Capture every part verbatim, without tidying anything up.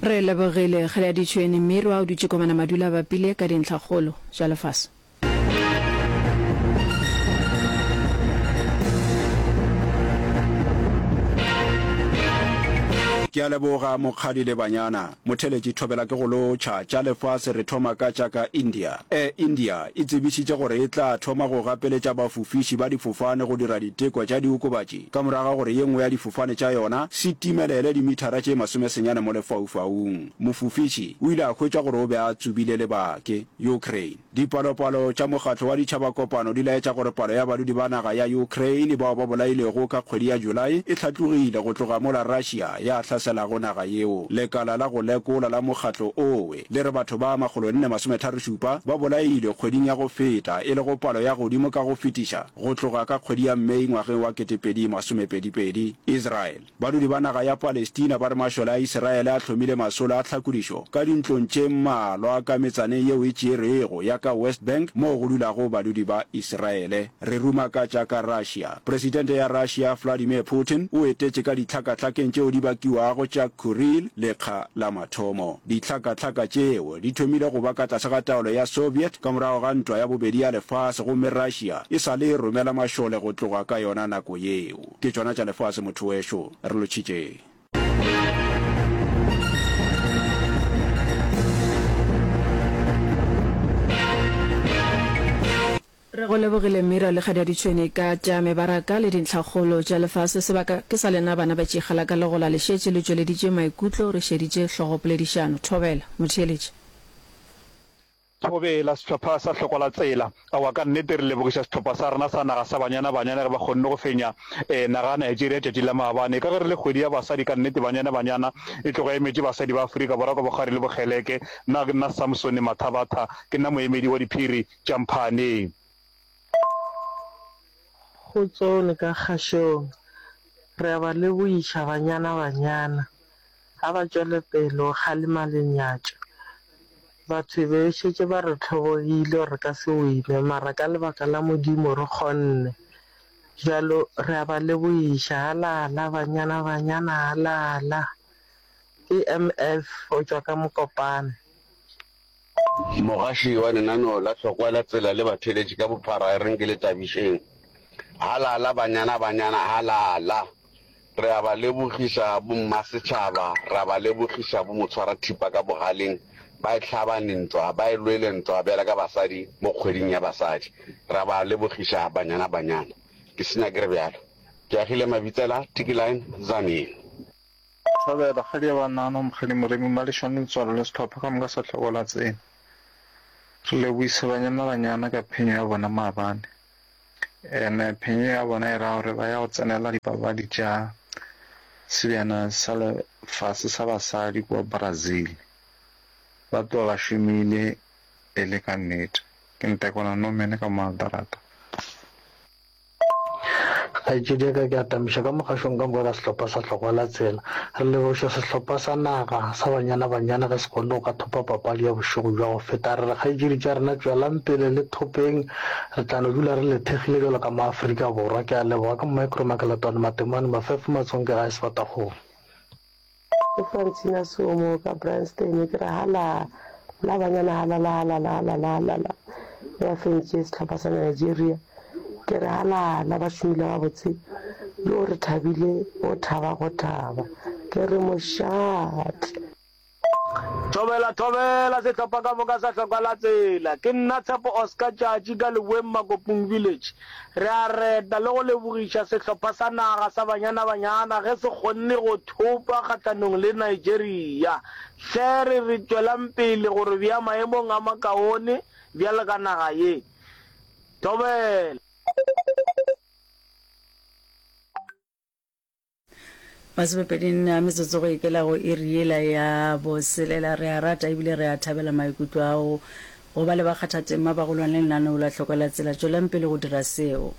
Re lebogile Kgaleaditšhwene Mmirwa o dutše komana madula a bapile ka dintlhakgolo tša lefase. Ke a leboga Mokgadi le banyana. Motheletši Thobela ke go lotšha. Tša lefase re thoma ka tša ka India. Air India e tsebišitše gore e tla thoma go gapeletša bafofiši ba difofane go dira diteko tša diokobatši ka morago ga gore ye nngwe ya difofane tša yona se timelele dimithara tše masomesenyane mo lefaufaung. Mofofiši o ile a hwetšwa gore o be a tsubile lebake. Ukraine, Dipalopalo tša mokgatlo wa Ditšhabakopano di laetša gore palo ya badudi ba naga ya Ukraine bao ba bolailwego ka kgwedi ya July e hlatlogile go tloga mola Russia ya hlaselago naga yeo. Lekala la go lekola la mokgatlo owe le re batho ba makgolonne-masometharošupa ba bolailwe kgweding ya go feta, e lego palo ya godimo ka go fetiša go tloga ka kgwedi ya May ngwageng wa ketepedi masomepedi-pedi. Israel, Badudi ba naga ya Palestina ba re mašole a Isiraele a hlomile masolo a tlhakodišo ka dintlong tše mmalwa ka metsaneng yeo e tšerwego ya ka West Bank moo go dulago badudi ba Isiraele. Re ruma ka tša ka Russia. Presidente ya Russia Vladimir Putin o etetše ka dihlakahlakeng tšeo di bakiwago tša Kuril lekga la mathomo. Dihlakahlaka tšeo di thomile go ba ka tlase ga taolo ya Soviet ka morago ga Ntwa ya Bobedi ya Lefase gomme Russia e sa le e romela mašole go tloga ka yona nako yeo. Ke tšona tša lefase motho wešo, re lotšhitšeng. Re go lebogile Mira le Kgadiaditšhwene ka tša mebaraka le dintlhakgolo tša lefase. Sebaka ke sa lena bana ba tšikgala ka legola le šetše le tšweleditše maikutlo re šeditše hlogopoledišano. Thobela, motheeletši. Thobela, sehlopha sa Hlokwa la Tsela. Aowa, ka nnete re lebogiša sehlopha sa rena sa naga sa Banyana Banyana ge ba kgonne go fenya naga ya Nigeria tšatši la maabane. Ka ge re le kgwedi ya basadi, ka nnete Banyana Banyana e tloga e emetše basadi ba Afrika Borwa ka bokgwari le bokgeleke. Nna ke nna Samsone Mathabatha, ke nna moemedi wa diphiri tša Mphane. Kgotsong le ka kgašong. Re a ba lebogiša Banyana Banyana. Ga ba tšwele pele go kgalema lenyatšo. Batho e be e šetše ba re hlobogile gore re ka se wine, mara ka lebaka la Modimo re kgonne. Bjalo re a ba lebogiša. Halala banyana banyana halala. Ke M F go tšwa ka Mokopane. Mogaši wa lenaneo la Hlokwa la Tsela le batheeletši ka bophara e reng ke le tabišeng. Halala banyana banyana halala. Re a ba lebogiša bommasetšhaba, ra ba lebogiša bomotshwarathipa ka bogaleng, ba e hlabane ntwa, ba e lwele ntwa bjalo ka basadi mo kgweding ya basadi. Ra ba lebogiša banyana banyana. Ke senya ke re bjalo. Ke agile Mabitsela, Tiki Line, Tzaneen. Thobela, Kgadi ya Banana, Mokgadi Moremi, Malešwane Letswalo le sehlopha ka moka sa Hlogo la Tsela. Re lebohisa Banyana Banyana ka phenyo ya bona maabane. Ene phenyo ya bona e ra gore ba ya go tsenela dipapadi tša Sebjana sa Lefase sa Basadi kua Brazil. Ba tloga ba šomile e le ka nnete. Ke Ntekwana Norman ka mo Aldarata. Kgaetšedi ya ka, ke atamiša ka mogašong ka moka ka sehlopha sa Hlokwa la Tsela. Re lebogiša sehlopha sa naga sa Banyana Banyana ge se kgonne go ka thopa papadi ya bošego bja go feta. Re re kgaetšedi tša rena tšwelang pele le thopeng, re tla no dula re le thekgile bjalo ka maAfrika Borwa. Ke a leboga. Ke Micro Makeletwane Matemane Mafefo Matsonke gae Sebatakgomo. Ke Francina Somo ka Bryanston ke re hala la banyana halala halala halala halala ge ba fentše sehlopha sa Nigeria ke re halala ba šomile gabotse yo re thabile go thaba go thaba ke re mošate. Thobela, thobela, sehlopha ka moka sa hloka la tsela. Ke nna Tshepo Oscar Tšatši ka Leboeng Makopong Village. Re a reta le go lebogiša sehlopha sa naga sa Banyana Banyana ge se kgonne go thopa kgahlanong le Nigeria. Hle re re tšwelang pele go re bea maemong a makaone bjalo ka naga ye. Thobela. Masomepedi nne a metsotso go ikela go iri yela ya boselela. Re a rata ebile re a thabela maikutlo ao go ba le bakgathatema ba go lwana le lenaneo la Hloko la Tsela. Tšwelang pele go dira seo.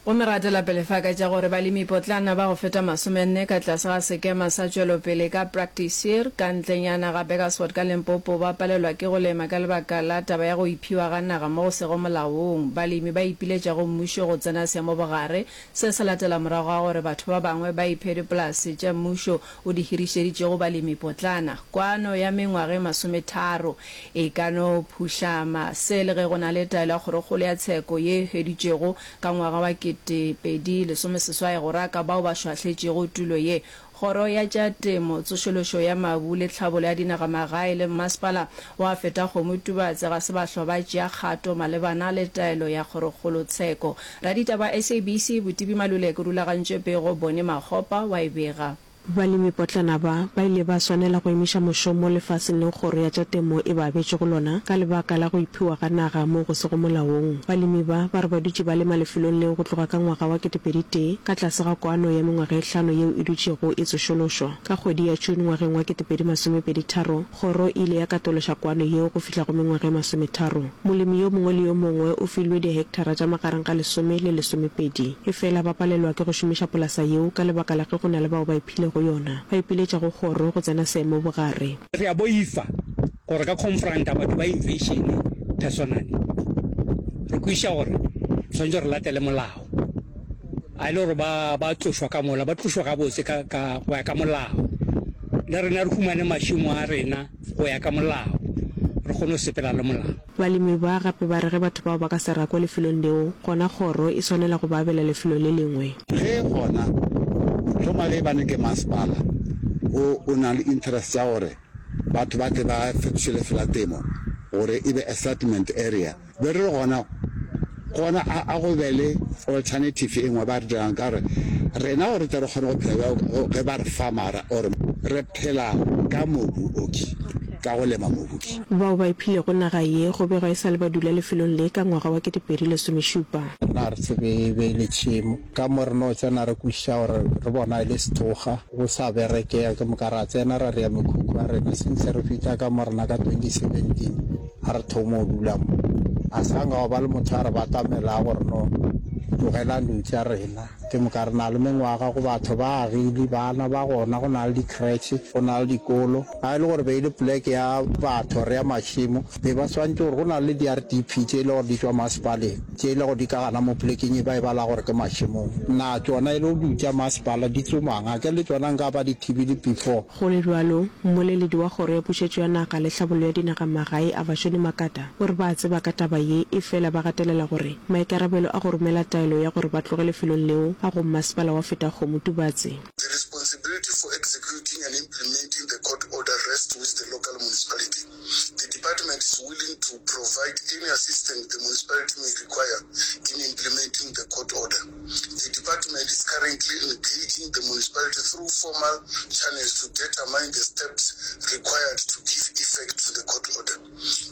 Gomme ra tšwela pele fa ka tša gore balemipotlana ba go feta masomenne ka tlase ga sekema sa tšwelopele ka Praktiseer ka ntlenyana ga Burgersfort ka Limpopo ba palelwa ke go lema ka lebaka la taba ya go iphiwa ga naga mo go sego molaong. Balemi ba ipiletša go mmušo go tsena seemo bogare. Se se latela morago ga gore batho ba bangwe ba iphe dipolase tša mmušo o di hirišeditšego balemipotlana. Kwano ya mengwaga e masometharo e ka no phuhlama se le ge go na le taelo ya Kgorokgolo ya Tsheko ye e hweditšwego Ka ngwaga wa kete pedi lesome seswai go raka bao ba šwahletšego tulo ye, Kgoro ya tša Temo, Tsošološo ya Mabu le Tlhabolo ya Dinagamagae le Mmasepala wa Fetakgomo Tubatse ga se ba hlwa ba tšea kgato malebana le taelo ya Kgorokgolotsheko. Raditaba wa SABC, Botibi Maluleke o rulagantše pego, Bonnie Makgopa wa e bega. Balemipotlana ba, ba ile ba swanela go emiša mošomo lefaseng leo kgoro ya tša temo e ba abetšego lona ka lebaka la go iphiwa ga naga moo go sego molaong. Balemi ba, ba re ba dutše ba lema lefelong leo go tloga ka ngwaga wa ketepedi tee ka tlase ga kwano ya mengwaga e hlano yeo e dutšego e tsošološwa. Ka kgwedi ya June ngwageng wa ketepedi masomepedi tharo, Kgoro e ile ya katološa kwano yeo go fihla go mengwaga e masometharo. Molemi yo mongwe le yo mongwe o filwe dihektara tša magareng ga lesome le lesomepedi. Efela ba palelwa ke go šomiša polasa yeo ka lebaka la ge go na le bao ba iphilego yona. Ba ipiletša go kgoro go tsena seemo bogare. Re a boifa gore ka confronta batho ba invasion personally. Re kwešiša gore re swanetše re latele molao. A e le gore ba ba tlošwa ka mola, ba tlošwa gabotse ka, ka, go ya ka molao. Le rena re humane mašemo a rena go ya ka molao, re kgone go sepela le molao. Balemi ba gape ba re ge batho bao ba ka se rakwe lefelong leo, gona kgoro e swanela go ba abela lefelo le lengwe. Ge gona, hloma ge ebane ke masepala o o nang le interest ya gore batho ba tle ba fetoše lefelo la temo gore e be a settlement area, Be re re gona, gona a, a go be le alternative e nngwe ba re dirang ka gore rena gore re tle re kgone go phela bjalo ge ba re fa mara or re phela ka mobu oki, ka go lema mobu ki. Bao ba iphilego naga ye go begwa e sa le ba dula lefelong le ka ngwaga wa ketepedi lesomešupa. Rena ga re tsebe e be e le tšhemo. Ka mo re no tsena re kwešiša gore re bona e le sethokga, go sa berekega. Ke moka ra tsena ra rea mekhukhu ya rena. Since re fihla ka mo rena ka twenty seventeen, ga re thoma go dula mo, a sa nka gwa ba le motho a re batamelago gore no tlogelang dilo tša rena. Ke moka re na le mengwaga go batho ba agile, bana ba gona, go na le di-creche, go na le dikolo. Ga e le gore be e le poleke ya batho or ya mašemo, be ba swanetše gore go na le di-R_D_P tše e le gore di tšwa masepaleng, tše e le gore di ka gana mo polekeng e ba e bala gore ke mašemong. Na tšona e le go tša masepala di tsomang? A ke le tšona nka ba di thibile before? Go le bjalo, mmoleledi wa Kgoro ya Pušetšo ya Naga le Tlhabollo ya Dinagamagae, Avashoni Makata, o re ba a tseba ka taba ye efela ba gatelela gore maikarabelo a go romela taelo ya gore ba tloge lefelong leo a go Mmasepala wa Fetakgomo Tubatse. The responsibility for executing and implementing the court order rests with the local municipality. The department is willing to provide any assistance the municipality may require in implementing the court order. The department is currently engaging the municipality through formal channels to determine the steps required to give effect to the court order.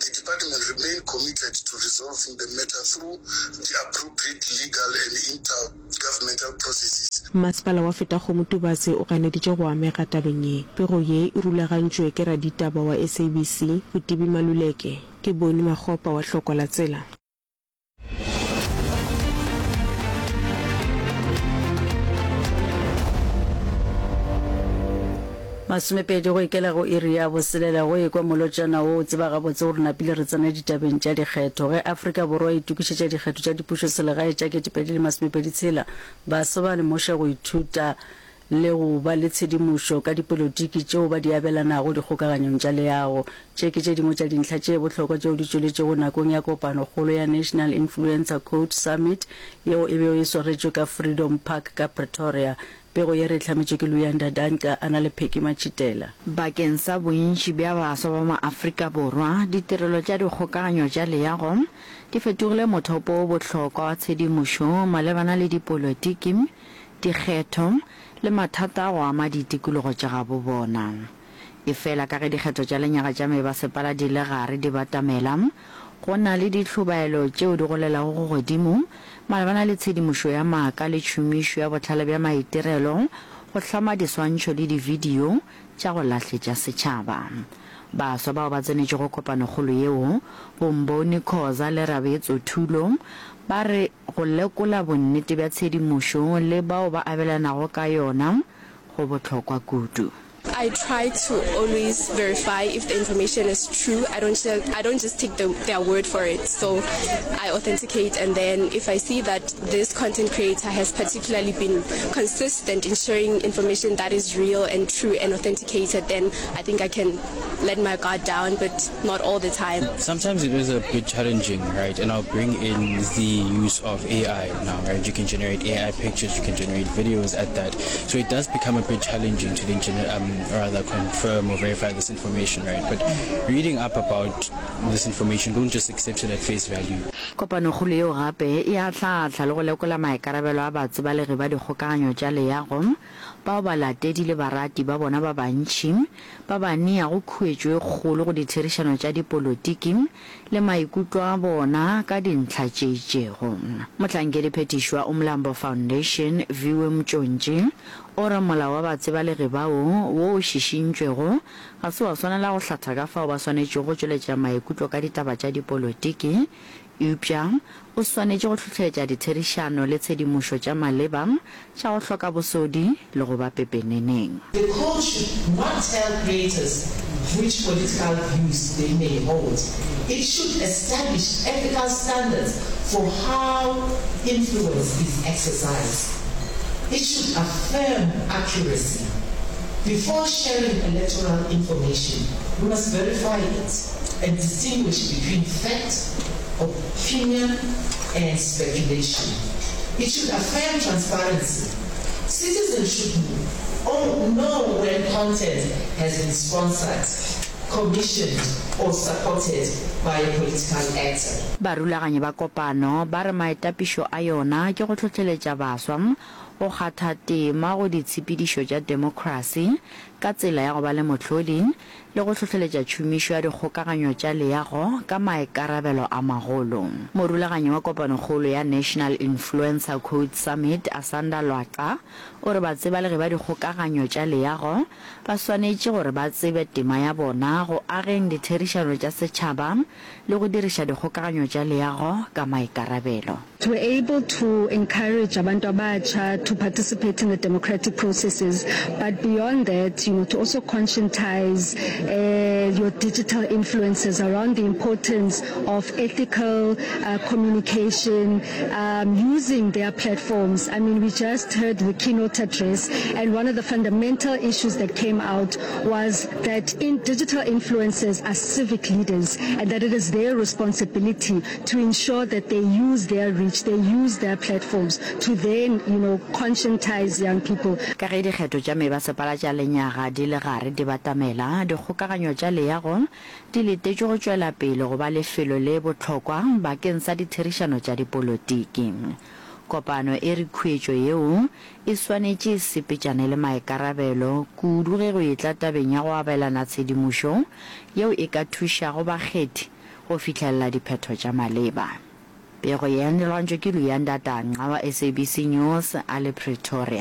The department remain committed to resolving the matter through the appropriate legal and intergovernmental processes. Masepala wa Fetakgomo Tubatse o ganeditše go amega tabeng ye. Pego ye e rulagantšwe ke raditaba wa SABC, Botibi Maluleke. Ke Boni Makgopa wa Hlokwa la Tsela. Masomepedi go ikela go iri ya boselela go ekwa molotšana wo o tseba gabotse gore napile re tsena ditabeng tša dikgetho. Ge Afrika Borwa e itokišetša dikgetho tša dipušoselegae tša ketepedi le masomepedi tshela, baswa ba lemoša go ithuta le go ba le tshedimošo ka dipolotiki tšeo ba di abelanago dikgokaganyong tša leago. Tše ke tše dingwe tša dintlha tše bohlokwa tšeo di tšweletšego nakong ya kopanokgolo ya National Influencer Code Summit yeo e bego e swaretšwe ka Freedom Park ka Pretoria. Pego ye re e hlametšwe ke Luyanda Danca a na le Peggy Matšhitela. Bakeng sa bontši bja baswa ba maAfrika Borwa, ditirelo tša dikgokaganyo tša leago di fetogile mothopo wo bohlokwa wa tshedimošo malebana le dipolotiki, dikgetho le mathata a go ama ditikologo tša gabo bona. Efela ka ge dikgetho tša lenyaga tša mebasepala di le gare di batamela, go na le dihlobaelo tšeo di golelago go godimo malebana le tshedimošo ya maaka le tšhomišo ya bohlale bja maitirelo go hlama diswantšho le dividio tša go lahletša setšhaba. Baswa bao ba tsenetšego kopanokgolo yeo, bo Mboni Khoza le Rabeetso Thulo, ba re go lekola bonnete bja tshedimošo le bao ba abelanago ka yona go bohlokwa kudu. I try to always verify if the information is true. I don't I don't just take the, their word for it. So I authenticate and then if I see that this content creator has particularly been consistent in sharing information that is real and true and authenticated, then I think I can let my guard down, but not all the time. Sometimes it is a bit challenging, right? And I'll bring in the use of AI now, right? You can generate AI pictures, you can generate videos at that. So it does become a bit challenging to then gener- um, rather confirm or verify this information, right? But reading up about this information, don't just accept it at face value. Kopanokgolo yeo gape e ahlaahla le go lekola maikarabelo a batsebalegi ba dikgokaganyo tša leago bao balatedi le barati ba bona ba bantši ba ba neago khuetšo e kgolo go ditherišano tša dipolotiki le maikutlo a bona ka dintlha tše itšego. Mohlankediphethiši wa Umlambo Foundation, Viwe Mtšontši, o re molao wa batsebalegi bao wo o šišintšwego ga se wa swanela go hlatha ka fao ba swanetšego go tšweletša maikutlo ka ditaba tša dipolotiki eupša o swanetše go hlohleletša ditherišano le tshedimošo tša maleba tša go hloka bosodi le go ba pepeneneng. The code should not tell creators which political views they may hold. It should establish ethical standards for how influence is exercised. It should affirm accuracy. Before sharing electoral information, we must verify it and distinguish between fact, opinion and speculation. It should affirm transparency. Citizens should know when content has been sponsored, commissioned or supported by a political actor. Barulaganyi ba kopano ba re maetapišo a yona ke go hlohleletša baswa go kgatha tema go ditshepedišo tša demokrasi ka tsela ya go ba le mohlodi le go hlohleletša tšhomišo ya dikgokaganyo tša leago ka maikarabelo a magolo. Morulaganyi wa kopanokgolo ya National Influencer Code Summit, Asanda Lwaqa, o re batsebalegi ba dikgokaganyo tša leago ba swanetše gore ba tsebe tema ya bona go ageng ditherišano tša setšhaba le go diriša dikgokaganyo tša leago ka maikarabelo. We're able to encourage abantu abatsha to participate in the democratic processes, but beyond that, you know, to also conscientize uh, your digital influencers around the importance of ethical uh, communication, um, using their platforms. I mean, we just heard the keynote address, and one of the fundamental issues that came out was that in digital influencers are civic leaders and that it is their responsibility to ensure that they use their reach, they use their platforms to then, you know, conscientize young people. Ka ge dikgetho tša mebasepala tša lenyaga di le gare di batamela, dikgokaganyo tša leago di letetšwe go tšwela pele go ba lefelo le bohlokwa bakeng sa ditherišano tša dipolotiki. Kopano e re khuetšo yeo e swanetše e sepetšane le maikarabelo, kudu ge go etla tabeng ya go abelana tshedimošo yeo e ka thušago bakgethi go fihlelela diphetho tša maleba. Pego ye e lwantšwe ke Luyanda Danca wa SABC News a le Pretoria.